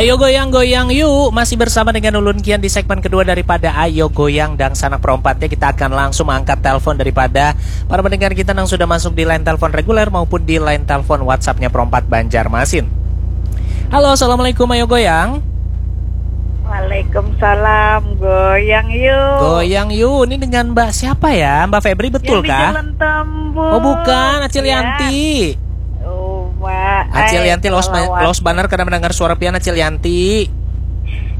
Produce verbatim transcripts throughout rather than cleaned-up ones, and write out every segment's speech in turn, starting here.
Ayo goyang-goyang yuk, masih bersama dengan ulun kian di segmen kedua daripada Ayo Goyang Dangsanak Perompat ya. Kita akan langsung angkat telepon daripada para pendengar kita yang sudah masuk di line telepon reguler maupun di line telepon WhatsApp-nya Perompat Banjarmasin. Halo, assalamualaikum, ayo goyang. Waalaikumsalam, goyang yuk. Goyang yuk, ini dengan Mbak siapa ya? Mbak Febri betul Yang di kah? Jalan Tambun. Oh bukan, Acil Ya. Yanti. Oh, Mbak. Acil Ay, Yanti los, kelelawar. Los banar kada mendengar suara pian, Acil Yanti.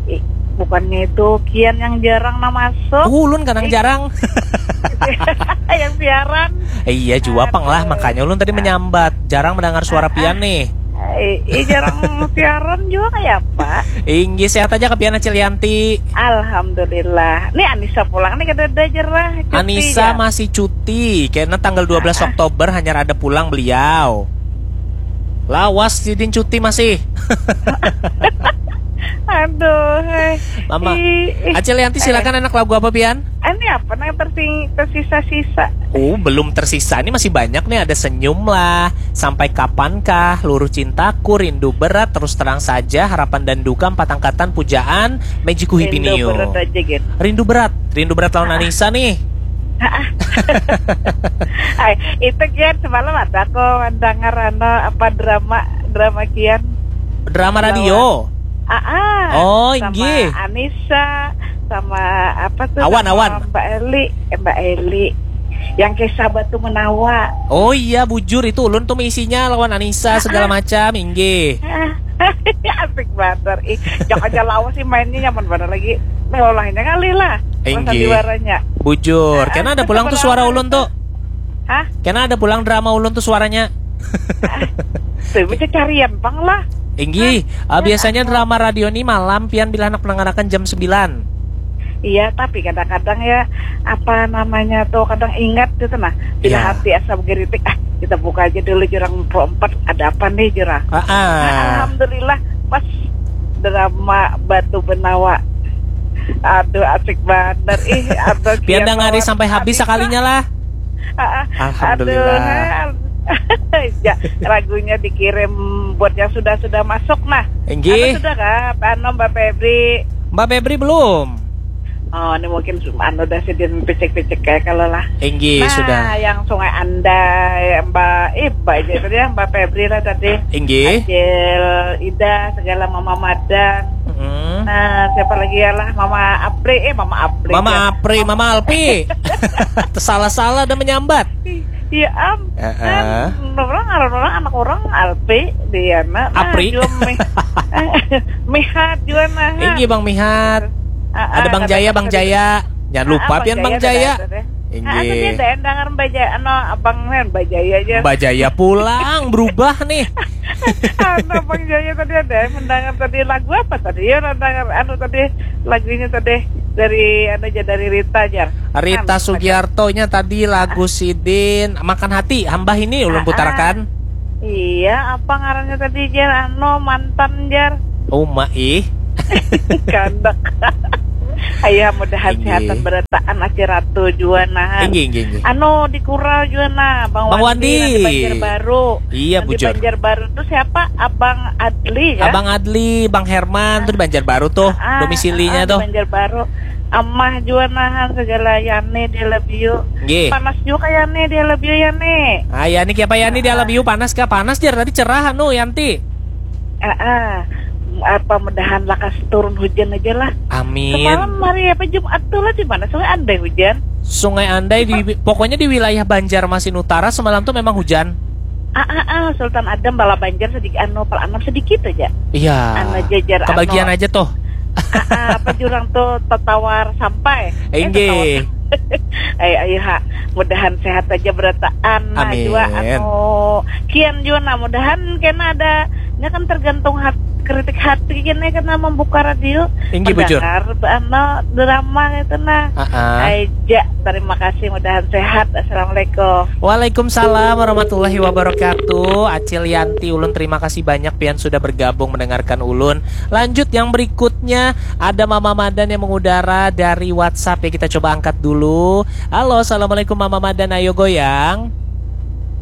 Ih, bukannya itu kian yang jarang nah masuk. Oh, ulun kadang Eh. jarang. Yang siaran. Eh, iya jua pang lah, Aduh. Makanya ulun tadi menyambat jarang mendengar suara pian nih. Eh, eh, jarang siaran juga kayak apa? Inggih, sehat aja kah pian, Acil Yanti? Alhamdulillah. Nih Anissa pulang nih kada ada jerah. Cuti Anissa ya. Masih cuti karena tanggal dua belas Oktober hanya ada pulang beliau. Lawas sidin cuti masih. Aduh, hei. Mama, Ih, ih. Acil Yanti silakan, enak lagu apa pian? Ini apa nih tersing tersisa-sisa? Oh, belum tersisa. Ini masih banyak nih. Ada Senyum Lah, Sampai Kapankah, Luruh Cintaku, Rindu Berat, Terus Terang Saja, Harapan dan Duka, Empat Angkatan, Pujaan, Magic Rindu Hibinio. Berat aja gitu. Rindu Berat, Rindu Berat lawan Anissa nih. Ay, itu kian semalam ada aku mendengar ano apa drama drama kian. Drama radio. Ah, ah. Oh, Sama inggih. Anissa, sama apa tuh? Awan, Sama Awan. Mbak Eli, eh, Mbak Eli. Yang kisah batu menawa. Oh iya, bujur itu ulun tuh isinya lawan Anissa segala macam, inggih. Asik banget. Ih, jangan aja lawas sih mainnya nyaman banget lagi. Lolahnya kali lah. Inggih. Sandiwaranya. Bujur. Ah, Karena ada ah, pulang tuh betul suara banget. Ulun tuh. Hah? Karena ada pulang drama Ulun tuh suaranya. Tuh, bisa carian pang lah. Inggih, ah, biasanya drama radio ini malam pian bila anak menangarakan jam sembilan. Iya, tapi kadang-kadang ya apa namanya tuh kadang ingat gitu nah. Bila Iya. Hati asa bergeritik, ah kita buka aja dulu jurang empat ada apa nih jurang. Ah, ah. Alhamdulillah pas drama Batu Benawa. Aduh asik banget ih. Aduh, Pian kian dangari banget. sampai habis Asik sakalinya lah. Ah, ah. Alhamdulillah. Aduh, ya, lagunya dikirim buat yang sudah-sudah masuk nah. Inggih. Anu sudah kah? Anu Mbak Febri. Mbak Febri belum? Oh, ini mungkin anu udah sidin picik-picik kayak kalau lah. Inggih, Nah, sudah. Yang Sungai Andai, Mbak, eh, Mbak aja tadi ya, Mbak Febri lah tadi. Inggih. Acil, Ida, segala Mama Madan. Mm. Nah, siapa lagi ya lah? Mama Apri, eh Mama Apri. Mama ya. Apri, Mama Alpi. Salah-salah ada menyambat. Iya am. Heeh. Kan orang ngaran orang anak orang Alpi, Diana. Nah, Apri. Juga Mi, Mihat juga nah. Inggih Bang Mihat. Ah, Ada ah, Bang kata- Jaya, kata- Bang Jaya. Jangan Ah, lupa ah, pian Bang Bang Jaya. Jaya, tadi. Ah, Inggih. Tadi ada yang dengar Mbak Jaya, anu Abang Nen, Mbak Jaya aja. Mbak Jaya pulang berubah nih. Anu Bang Jaya tadi ada yang mendengar tadi lagu apa tadi? Ya orang dengar anu tadi lagunya tadi dari anu aja dari Rita aja. Rita Anu, Sugiarto-nya tadi lagu sidin Makan Hati, hambah ini ulun Ah, putarakan. Iya, apa ngarannya tadi Jar? Anu mantan Jar. Uma ih. Kandak. Ayo mudahan Inggih. Sehatan berataan aja ratu jua nah. Inggih, inggih, inggih. Anu di Kural jua nah, Bang, Bang Wandi, Wandi. Nanti Banjarbaru. Iya, Nanti bujur. Banjarbaru tuh siapa? Abang Adli ya? Abang Adli, Bang Herman tuh di Banjarbaru tuh, Ah, domisilinya ah, di tuh. Banjarbaru. Amah jua nahan segala Yani dia love you. Nggih. Panas juga Yani dia love you Yani. Ah, Yani kiapa Yani dia love you panas kah? Panas Jar tadi cerah anu Yanti. Ah, ah. Apa mudahan lakas turun hujan aja lah. Amin. Semalam hari apa Jumat tuh lah di mana Sungai Andai hujan. Sungai Andai di pokoknya di wilayah Banjarmasin Utara semalam tuh memang hujan. Ah, ah, ah, Sultan Adam bala Banjar sedikit anu pal anam sedikit aja. Iya. Anu jajar Kebagian anu. Aja tuh. Ah, ah, apa jurang tuh tetawar sampai. Eh, Inggih. Tetawar. Ayo, ayo ha, mudahan sehat aja berataan. Nah, Amin. Jua anu kian jua nah mudahan kena ada nya kan tergantung hat, kritik hati kena kena membuka radio. Inggih, bujur. Mendengar anu drama itu nah. Ah, ah. Aja terima kasih mudahan sehat. Assalamualaikum. Waalaikumsalam warahmatullahi wabarakatuh. Acil Yanti ulun terima kasih banyak pian sudah bergabung mendengarkan ulun. Lanjut yang berikutnya ada Mama Madan yang mengudara dari WhatsApp ya, kita coba angkat dulu. Halo, assalamualaikum Mama Madan, ayo goyang.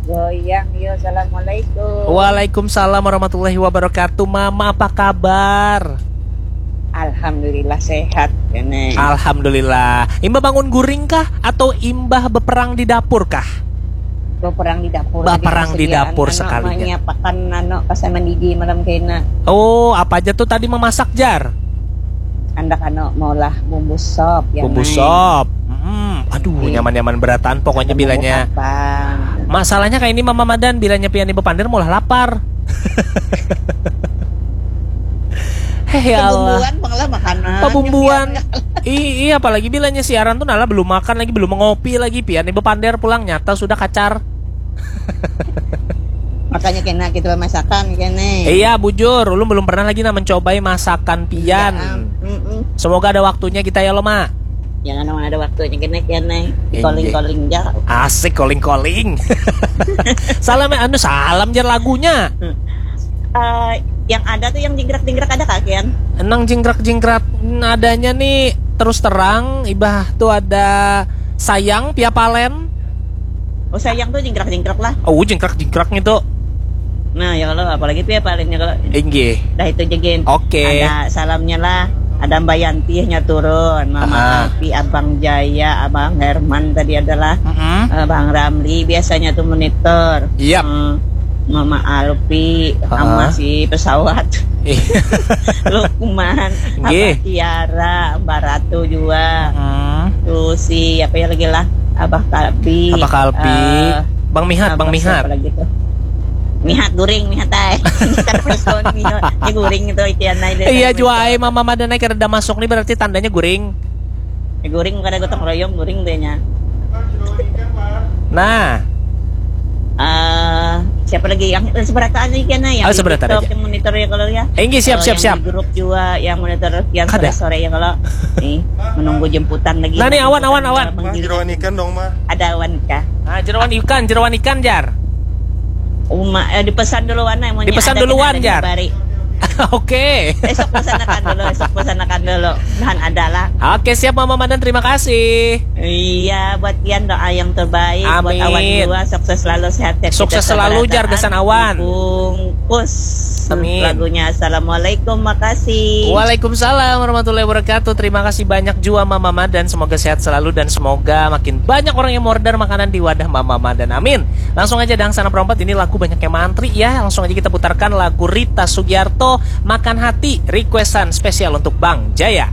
Goyang yo, assalamualaikum. Waalaikumsalam warahmatullahi wabarakatuh. Mama, apa kabar? Alhamdulillah sehat, Kene. Alhamdulillah. Imbah bangun guring kah atau imbah beperang di dapur kah? Beperang di dapur. Beperang di dapur sekalinya. Menyiapkan anu, pas saya mendidih malam kena. Oh, apa aja tuh tadi memasak, Jar? Andak anu maulah bumbu sop ya. Bumbu sop. Hmm, aduh, nyaman-nyaman berataan pokoknya bilanya. Masalahnya kayak ini Mama Madan, bilanya pian ibu pandir maulah lapar. Heh, ya Allah. Pabumbuan bang lah makanan. Pabumbuan. Iya, apalagi bilanya siaran tuh nala belum makan lagi, belum mengopi lagi, pian ibu pandir pulang nyata sudah kacar. Makanya kena kita masakan kene. Iya, bujur, ulun belum pernah lagi nah mencobai masakan pian. Semoga ada waktunya kita ya lo, Ma. Jangan ada waktunya kene kene. Calling calling ja. Asik calling calling. Salam anu salam, Jar, lagunya. Uh, yang ada tuh yang jingkrak-jingkrak ada kah, Kian? Nang jingkrak-jingkrak nadanya nih terus terang, ibah tuh ada sayang pia palen. Oh, sayang tuh jingkrak-jingkrak lah. Oh, jingkrak-jingkrak gitu. Nah, ya kalau apalagi pia palennya kalau. Inggih. Dah itu aja, Gin. Oke. Ada salamnya lah. Ada Mbak Yanti nya turun, Mama Alpi, Abang Jaya, Abang Herman tadi adalah, uh, Bang Ramli biasanya tuh monitor. Yap. Uh, Mama Alpi, sama si pesawat. Lukman, Abah Tiara, Mbak Ratu juga. Terus si apa ya lagi lah, Abah Kalbi. Abah Kalbi. Uh, Bang Mihat, Bang Mihat. Lagi tuh. Mihat guring, mihat ay. Kada persoal mihat. Ini guring itu ikian ay. Iya jua ay, Mama Madan ay kada masuk nih berarti tandanya guring. Ya, guring kada gotong royong, guring dehnya. Nah. Uh, siapa lagi yang seberataan lagi kan yang oh, seberataan aja. Yang monitor ya kalau ya. Enggak, siap, siap, siap. Grup juga yang monitor yang sore-sore ya kalau nih menunggu jemputan lagi. Nah, nih awan, awan, awan. Jeroan ikan dong, Ma. Ada awan kah? Ah, jeroan ikan, jeroan ikan, Jar. Uma, eh, dipesan dulu wana. Dipesan dulu wan, Jar. Oke. Esok pesanakan dulu, esok pesanakan dulu. Bahan adalah. Oke, siap Mama Madan, terima kasih. Iya, buat Kian doa yang terbaik. Amin. Buat awan juga, sukses selalu, sehat-sehat. Sukses selalu, Jar, gasan awan. Bungkus. Amin. Lagunya Assalamualaikum, makasih. Waalaikumsalam warahmatullahi wabarakatuh. Terima kasih banyak juga Mama Madan. Semoga sehat selalu dan semoga makin banyak orang yang order makanan di wadah Mama Madan. Amin. Langsung aja Dangsana Perompat, ini lagu banyak yang mantri ya. Langsung aja kita putarkan lagu Rita Sugiarto, Makan Hati, requestan spesial untuk Bang Jaya.